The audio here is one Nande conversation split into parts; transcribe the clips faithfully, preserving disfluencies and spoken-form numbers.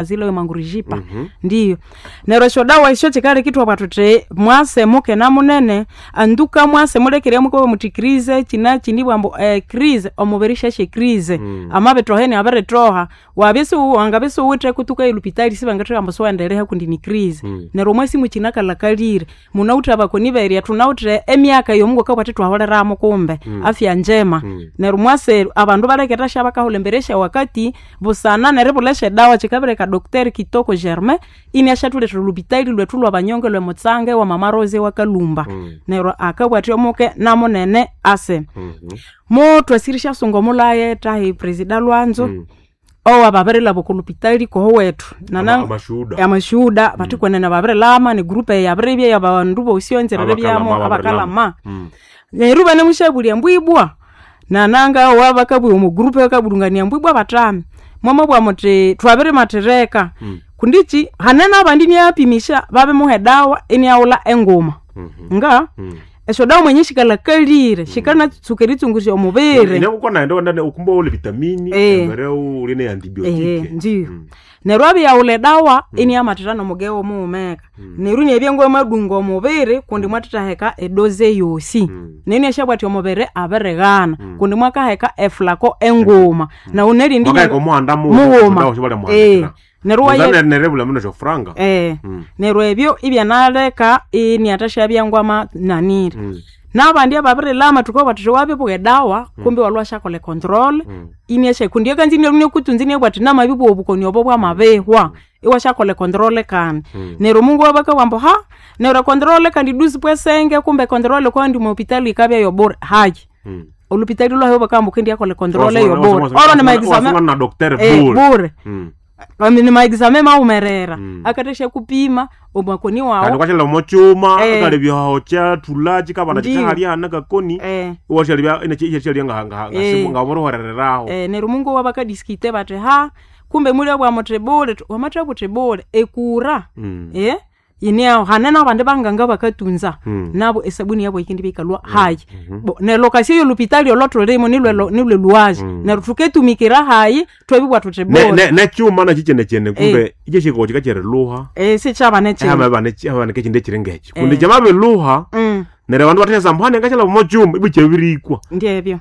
Zile Mangurujipa. Ndiyo neryo esyodawa esyo kikaleka ithwabugha thuthi mwase mukena munene anduka mwase mulekere mukabugha muthi crise kinakini ibwa ambu ecrise omubiri syasya ecrise amabithoha iniabirithoha wabya isiwu wangabya isiwuwithe kutuka elhupitali sibangathubwira ambu siwende kundi ni crise. Neryo omwasi mukinakalhakalire munawithe abakoni berya thunawithe emyaka eyomungu akabugha athi thwahuliramu kumbe afya njema. Neryo mwase abandu baleke eryasya bakahulha embere syawakati busana neribulha esyedawa kikabireka Doctor Kitoko Germain iniasyathulethera olhupitali lwethu lwabanyonga olwe Mutsange wa mama Rose wakalhumba. Neryo akabugha athi omuke namunene ase. Muthwasire esyasunga omulhaye thahi Presida Lwanzo owababirilhaba oko lhupitali kohowethu nana Amashuhuda. amashuhuda bathi kwenene babirilhama negroup eyabiribya yabandu bosi enzira Abakalama, eribyamu ababirilhama. abakalama. Neryo ibanemushabulya ambu ibwa nananga owabakabugha omo group bakabulhungania ambu ibwa bathami mwamabugha muthi twabirimathireka kundi ki hane nabandi iniapimisha babimuha edawa iniaghulha enguma nga esyodawa mwenye sikalhakalire sikanatsuka eritsungusya omubiri. Inyakuko naende wendane ukumba ule vitamini Eh. embere uli ne Ehe, antibiotike ndiyo neryo abiyaghulha edawa iniamathira nomugewo mughumeka neryo inabya ngwamadunga omubiri kundi mwathithaheka edoze eyosi neryo iniasyabugha athi omubiri abirighana kundi mwakaheka efulako enguma nawu nerindi mwakaheka omuhanda mughuma mughuma Eh, neryo waye nerebula muno syofuranga Eh, neryo ebyo ibyanaleka iniathasyabya ngwama nanire nabandi ababirilhama thukabugha thuthi wabibugha edawa kumbe iwalhwa wasyakolha econtrol iniasya kundi akanza inialhwa inikutunza iniabugha athi namabibugha obukoni obo bwamabihwa iwasyakolha econtrol kandi neryo omungu wabakabugha ambu ha neryo econtrol kandi douze point cinq kumbe econtrol kwandi omopitali yikabya yobure hayi olhupitali lwahu bakabugha ambu wukendiyakolha econtrol eyobure oro ni maexame na docteur eh, bure bure Mm. Ami ni maexame mawumerera akathasya kupima omakoni kandi wawu kwashalira omokyuma Eh. akalebya aho kyathula kikabana Ndiyo. kikahalya hana kakoni Eh. iwashalibya ikyashalya nga nga Eh. nga Eh, neryo omungu wabakadisikite bathi ha kumbe mulabugha muthi bule wamathabugha uthi bule ekura eh yiniaho hane nabandi banganga bakatunza nabo esabuni yabo yikendibya yikalhwa hayi bo nelokasio yolhupitali olwathulimo nilwe nilwe lhuwazi neryo thuketumikira hayi twabibugha thuthi bule nekyuma nakyo kyenekyene kumbe ikyashikowo kikakyeriluha eh sikyaba nekyindu ehamabane kindu ekiri ngekyo kundi kyamabiluha Mm, neryo abandu bathasya ambu hane ngashalaba omokyuma ibwa kyabirikwa ndyebyo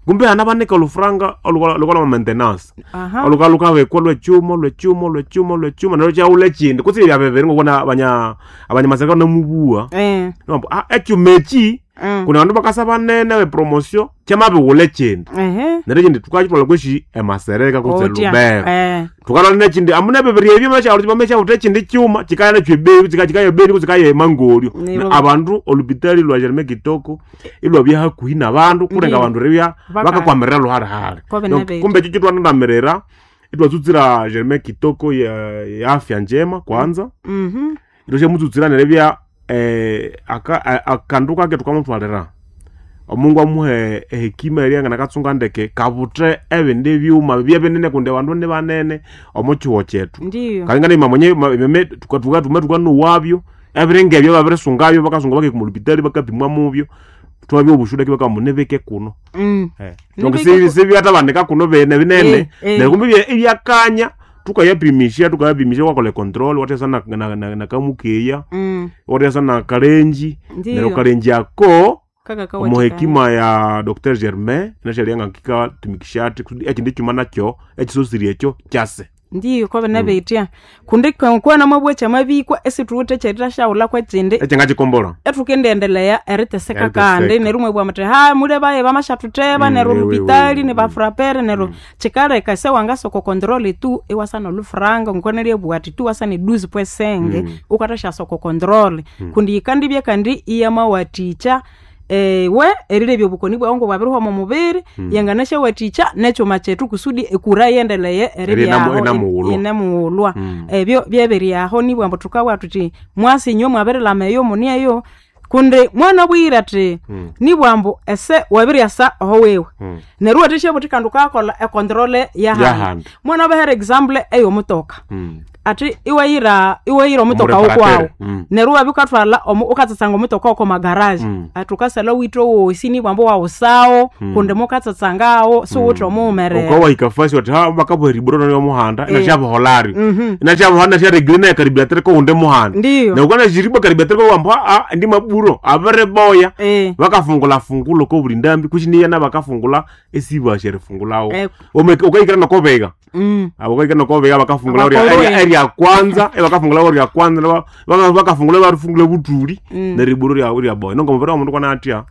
kumbe hana banika olufuranga olukalwa maintenance aha oluka lukabekwa lwekyuma lwekyuma lwekyuma lwekyuma neryo kyawula ekindi kutse byabebere ngokuna abanya abanyamasaka namubuwa eh Nibambu, ah ekyuma eki mm. kuna bandu bakasa banene bepromotion kyamabighulha ekindi ehe neryo ekindi thukakithwalha kweshi emasereka kutse otya lubero eh thukalwa nekindi amuna ebibiri ebyo bamesyaghutha ekindi kyuma kikaya nakyo ebeni kikaya ebeni kutse kikaya emangolyo Nero- Na abandu olupitali lwa Germain Kitoko ilwabya hakuhi nabandu kulenga Ndiyo. abandu ribya Baka- bakakwamirira luhalihali Kobe Donc, nebetu. kumbe ekyo kyitwanandamirira itwatsutsira Germain Kitoko ya, ya afya njema kwanza mhm itwashamutsutsira neribya eh, aka- a- akandu kake thukamuthwalira omungu amuhe ehekima erya nganakatsunga ndeke kabuthe ebindi byuma bibye binene kundi abandu ni banene omo kyihugho kyethu ndiyo kalingana imamwenye imeme tuka tume tukanowabyo ebiringa ebyo babirisungabyo bakasunga bakahika omulupitali bakapimwa mubyo twabya obushuda ki bakamunibike kuno mm Eh. Donc Nibike si sibyathabanika kuno bene binene Eh, eh. neryo kumbe ibya- ibyakanya tukayapimisha tukayapimisha wakola control wathesa na, na, na, na kamukeya mm wathesa na kalenji Ndiyo. neryo kalenji ako kaka omu kawathikaya hekima ya Dr Germain nashalya kikatumikisha athi kusudi ekindi kyuma nakyo ekisosiri ekyo kyase ndiyo kobe nabetya kundi kwana mabwa kyamabikwa esithuwithe ekyerithasyaghulha kwekindi ekyangakikombola ethukendiendelea eriteseka Eriteseka. kandi neryo mwebugha muthi ha mule baye bamashathutheba Mm, neryo we, we, olupitali we. nibafurapere neryo kikaleka sewangasoko control tu iwasana olufuranga ngokwanalya ati tu wasana eduzi pwesenge ukathasyasoko control kundi yikandibya kandi iyamawathikya ewe erilebya obukoni bwawu ngobwabirihwa omo mubiri yanganasyawathikya nekyuma kyethu kusudi ekura yendeleye eribyaho Erinamu- inamughulwa. inamughulwa ebyo byebiryaho nibwa ambu thukabugha thuthi mwasi inywe mwabirilhama eyo muni eyo Kundi mwana bwire ati Mm. nibwambu ese wabiryasa oho wewe Mm. neryo wathesya buthi kandi ukakolha econtrole yahandi Yahandi. mwana bahere example eyomutoka Mm. ati iwayira iwayira omutoka Omureparateur. wokwawu Mm. neryo wabya ukathwala omu- ukatsatsanga omutoka woko magaraji Mm. ati ukasala withe owosi nibwambu wawusawo kundi mukatsatsangawo siwuthe omuwumerera ukawahika fasi wati ha bakabuheriburo nyo muhanda Eh. inashabuholari Mhm. inashabuhanda nasharegire naye karibiatere ko unde muhanda Ndiyo. na ukana shiriba karibiatere ko wambu a ndi maburo abere boya Eh. bakafungula fungulo ko buli ndambi kuchiniya bakafungula esibasherifungulawo Eh. ukahikira nokobega Mm. abo ukahikira nokobega bakafungula Abakoloe. erya kwanza eh, bakafungula orya kwanza na ba- baka- bakafungula barifungula butuli Mm. neriburo rya rya boya nongo mubiri wa mundu kwanatya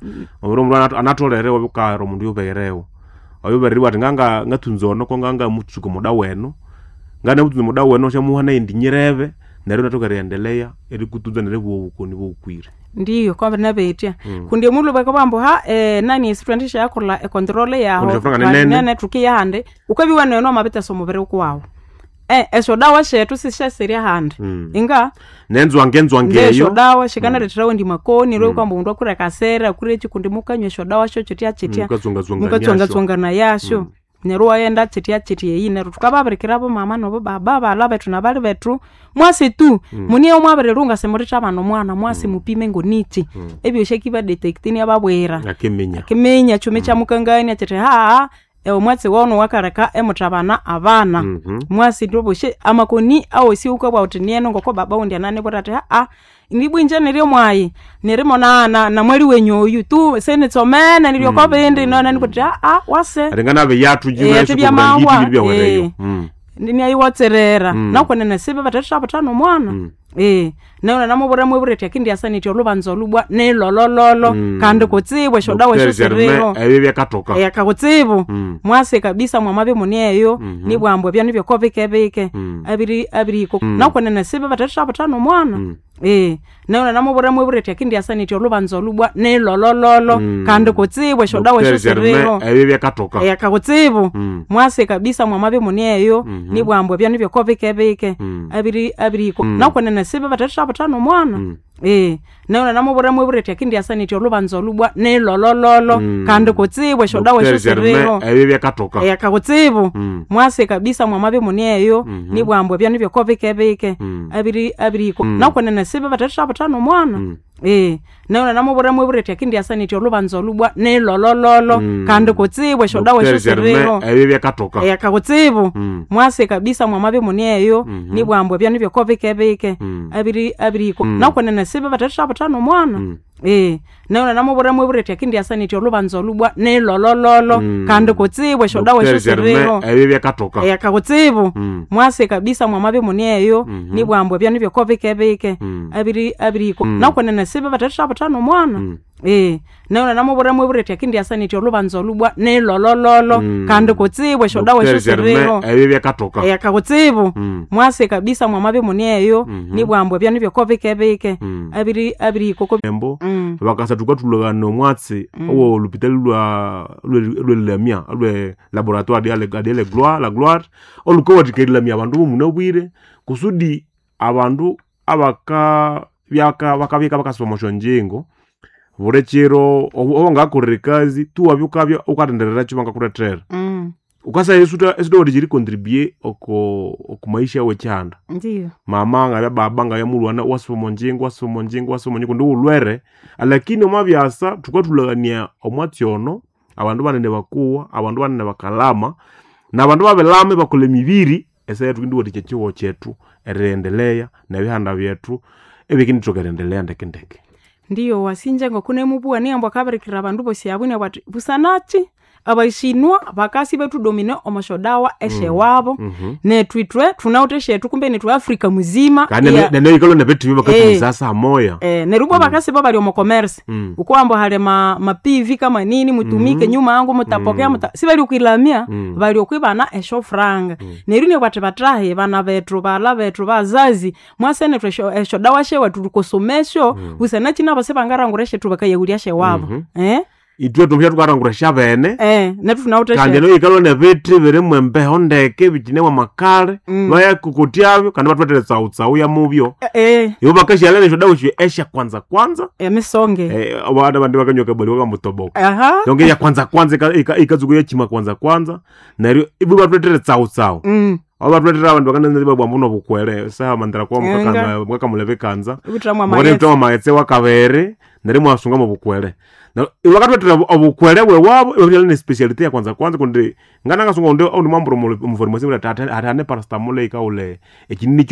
mubiri wa mundu anat- anatolere wabukahera omundu yuberewo oyubereriwa ati nganga ngathunza ono ko nganga mutsuka muda wenu ngana mutsunza muda wenu syamuha nayendi nyirebe neryo nathoka eriendelea erikutunza neribuwa obukoni bobukwire Ndiyo kwambi nabetya kundi omulhu bakabambu ha eh, nani esi twendisha yakolha econtrole yaho Kundi shofranga ni nene. tukiya handi ukabiwa neno amabitesa omubiri ukuwawu eh, esyo dawa shethu sisyaserya handi Mm. inga nenzwange enzwange ngesyo eyo dawa shikanaletherawo ndi makoni lwe kwamba mundu akure kasera akure chi kundi mukanywa esyo dawa syo chitya chitya mukatsongatsongania mukatsongatsongana yasyo neryo wayenda chitya chitya eyi neryo tukababirikira bomama nobo baba bala bethu nabali bethu mwasi tu muniye mwabirilunga simulitha bana omwana mwasi mupime ngonichi ebyosi akibadetektini ababwira akiminya kiminya chumi kya mukangania chiti haa ewe mwatsi wono wakaleka emuthabana abana Mhm. mwasi ndoboshe amakoni awosi ukabwa uti nieno ngoko baba undi ananibwira ati haa ndibwinje niryo mwayi nirimo na, na, na mwali wenyu oyu tu senitsomene niryo kobindi nona nikuti haa wase ati nganabe yathu Eh, yathu byamahwa, byawereyo eh. niayiwatserera Mm. nakonene sibe bathethabutana omwana Mm. eh naona namubura mwebura ati akindi asanitya olubanza olubwa nilolololo Mm. kandi kutsibwa esyo dawa esyo siriho ebyo byakatoka yakakutsibu Mm. mwase kabisa mwamabe munieyo Mhm. nibwambu ebyo nibyo kobikebike Mm. abiri abiriko Mm. nakonene sibe bathethabutana omwana Mm. eh naona namubura mwebura ati akindi asanitya olubanza olubwa nilolololo Mm. kandi kutsibwa esyo dawa esyo siriho ebyo byakatoka yakakutsibu Mm. mwase kabisa mwamabe munieyo Mhm. nibwambu ebyo nibyo kobikebike Mm. abiri abiriko Mm. nakonene sibe bathethabutana omwana Mm. eh naona namubura mwebura ati akindi asanitya olubanza olubwa nilolololo Mm. kandi kutsibwa esyo dawa esyo siriho ebyo byakatoka yakakutsibu Mm. mwase kabisa mwamabe munieyo Mhm. nibwambu ebyo nibyo kobikebike Mm. abiri abiriko Mm. nakonene sibe bathethabutana omwana Mm. eh naona namubura mwebura ati akindi asanitya olubanza olubwa nilolololo Mm. kandi kutsibwa esyo dawa esyo siriho ebyo byakatoka yakakutsibu Mm. mwase kabisa mwamabe munieyo Mhm. nibwambu ebyo nibyo kobikebike Mm. abiri abiriko Mm. nakonene sibe bathethabutana omwana Mm. eh naona namubura mwebura ati akindi asanitya olubanza olubwa nilolololo Mm. kandi kutsibwa esyo dawa esyo siriho ebyo byakatoka yakakutsibu Mm. mwase kabisa mwamabe munieyo Mhm. nibwambu ebyo nibyo kobikebike Mm. abiri abiriko Mm. nakonene sibe bathethabutana omwana Mm. eh naona namubura mwebura ati akindi asanitya olubanza olubwa nilolololo Mm. kandi kutsibwa esyo dawa esyo siriho ebyo byakatoka yakakutsibu Mm. mwase kabisa mwamabe munieyo Mhm. nibwambu ebyo nibyo kobikebike Mm. abiri abiriko ko embo Mm. bakasa tukatulakana omwatsi owo olupitali lwa lwelilamya lwe laboratoire adele gloire la gloire olukawathikerilamya abandu bomunabwire kusudi abandu abaka byaka bakabika bakasoma osyonjingo buli kiro owangakorera ekazi tuwabya ukabya ukatenderera bangakulethera Mm. ukasaya esuta esutawatha ericontribue oko okumaisha wekyihanda Ndiyo. mama ngabya baba ngabya mulwana wasoma onjingo wasoma onjingo wasoma onjingo ndi ulwere lakini omwabyasa thukathulakania omwatsi ono abandu banene bakuwa abandu banene bakalama nabandu babelama bakolha emibiri esaya thukindiwathikya ekyihugho kyethu eriendelea nebihanda byethu ebikindithoka eriendelea ndekendeke Ndiyo wasinje ngokunemubuwa niyambo akabirikira abandu bosi abo nabwo ati busanachi abaishinwa bakasi betudomine omoshodawa eshewabo Mhm. nethu ithwe thunawuthe eshethu kumbe nethu Afrika muzima kandi iya- neneikalo nebethibi Eh. bakathumisasa amoya eh, neryo ubwo bakasi bo bali omo commerce Mm. ukuwamba hali ma, ma P V kama nini mutumike nyuma yangu mutapokea muta si bali okwilamya Mm. bali okwibana esyo franga neryo nibwo ati batahe bana bethu bala bethu bazazi mwase nethu esyo esyo dawa shewa tulikosomesyo busana kina bose bangarangura eshethu bakayahulya shewabo eh Itwe tumusha tukarangura shabene. Eh, netu tunawuthe Kandi she eno ikalwa nebithi birimu embeho ndeke bikinemu amakale. Mm. Bayakukutyabyo kandi batwethere tsautsau ya mubyo. Eh, Ibo bakashyala nesho dawa esyo esya kwanza kwanza. emisonge. Eh, abana bandi bakanywa kabali wakamutoboka. Aha. Donc ya kwanza kwanza ika- ika- ikatsuka yachima kwanza kwanza. Neryo ibo batwethere tsautsau. Mm. Abo batwethere abandu bakananza babwa mbuno bukwere. Saha mandira kwa Enga. mukaka mukakamulebe kanza. Ubuthamwa Mukane amaghetse. mutama maghetse wakabere neryo mwasunga mu bukwere. Neryo bakatwetera obukwere bwewabo ibabya ne speciality ya kwanza kwanza kundi ngana ngasunga undi undi mwamburo mu farmasi ati ate ane paracetamol ikaule ekinini.